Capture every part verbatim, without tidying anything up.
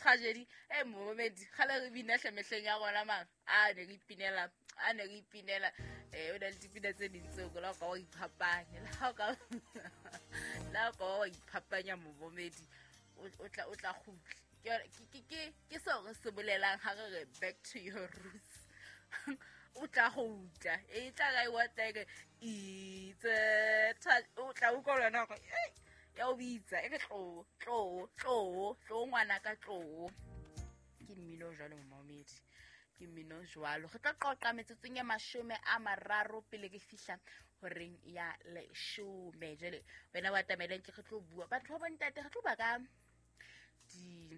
Tragedy e momedi kgale re bina hle mehleng ya rona mara a ne re ipinela a ne re ipinela um o na le dipina tse ding tseo la o ka wa iphapanya la o ka la o ka wa iphapanya momedi o tla o tla kgutla. Ke ke ke seo re se bolelang ha re re back to your roots. O tla kgutla e tla ka e wateke itse o tla utlwa le wena hore ya o bitsa e re tlo tlo tlo tlo ngwana ka tlo. Ke mmino jwalo momedi, ke mmino jwalo. Re tla qoqa metsotsong ya mashome a mararo pele ke fihla horeng ya leshome. Jwale wena wa tameleng ke re tlo bua batho ba bontate, re tlo bua ka di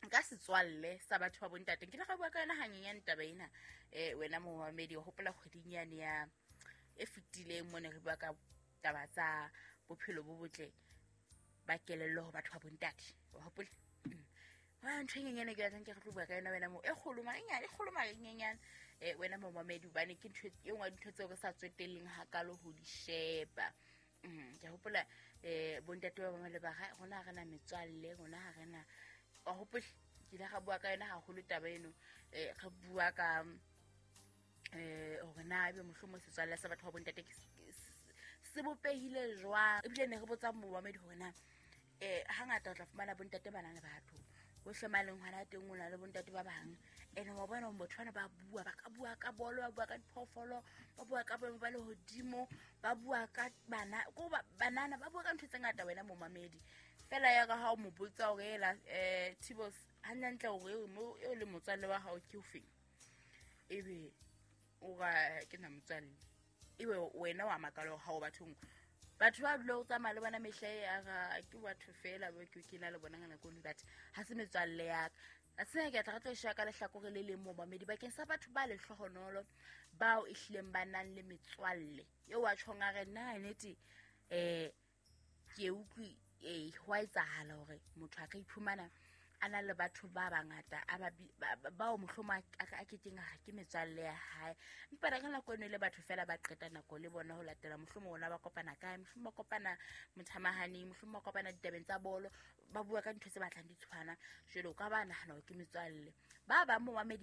nka setswalle sa batho ba bontate. Ke ile ka bua ka yona hanyenyane taba ena eh wena momamedi. O hopola kgweding yane ya e fetileng mo ne re bua ka taba tsa bophelo bo botle ba kelello ho batho ba bontate, wa hopola? Wa ntho e nyenyane ke batlang ke re tlo bua ka yona wena mo e kgolo mara e nyane, e kgolo mara e nyenyane eh wena momamedi, hobane ke ntho e nngwe ya dintho tseo re sa tswetelleng hakalo ho di sheba. Mm, ke a hopola eh bontate ba bangwe le ba ga rona ha re na metswalle, rona ha re na, wa hopola? Ke ile ga bua ka yona haholo taba eno eh re bua ka eh hore na ebe mohlomong setswalle sa batho ba bontate ke se bopehile jwang. Ebile ne re botsa momamedi hore na eh hangata o tla fumana bontate ba na le batho hohle ma leng hona teng, o na le bontate ba bang ene wa bona hore batho bana ba bua, ba ka bua ka bolo, ba bua ka diphoofolo, ba bua ka boemo ba lehodimo, ba bua ka bana ko ba banana, ba bua ka ntho tse ngata wena momamedi. Fela ya ka ha o mo botsa hore ela eh Tibos hantle hore eo mo eo le motswalle wa hao ke ofeng, ebe o ra ke na motswalle, ebe wena wa makala hore ha o bathong batho ba dula o tsamaya le bona mehla e a ra ke batho fela ba ke ke na le bona ka nako eno, but ha se metswalle ya ka. A sena ke tla re tlo e sheba ka lehlakore le leng momamedi bakeng sa batho ba lehlohonolo bao e hlileng ba nang le metswalle eo wa tjhong a re nna nnete eh ke utlwi eh hwa etsahala hore motho a ka iphumana a na le batho ba bangata a ba bao mohlomong a a kekeng a re ke metswalle ya hae, empa ka nako eno e le batho fela ba qeta nako le bona ho latela mohlomong ona ba kopana kae, mohlomong ba kopana mothamahaneng, mohlomong ba kopana ditabeng tsa bolo, ba bua ka dintho tse batlang di tshwana. Jwale o ka ba nahana hore ke metswalle. Ba bang momamedi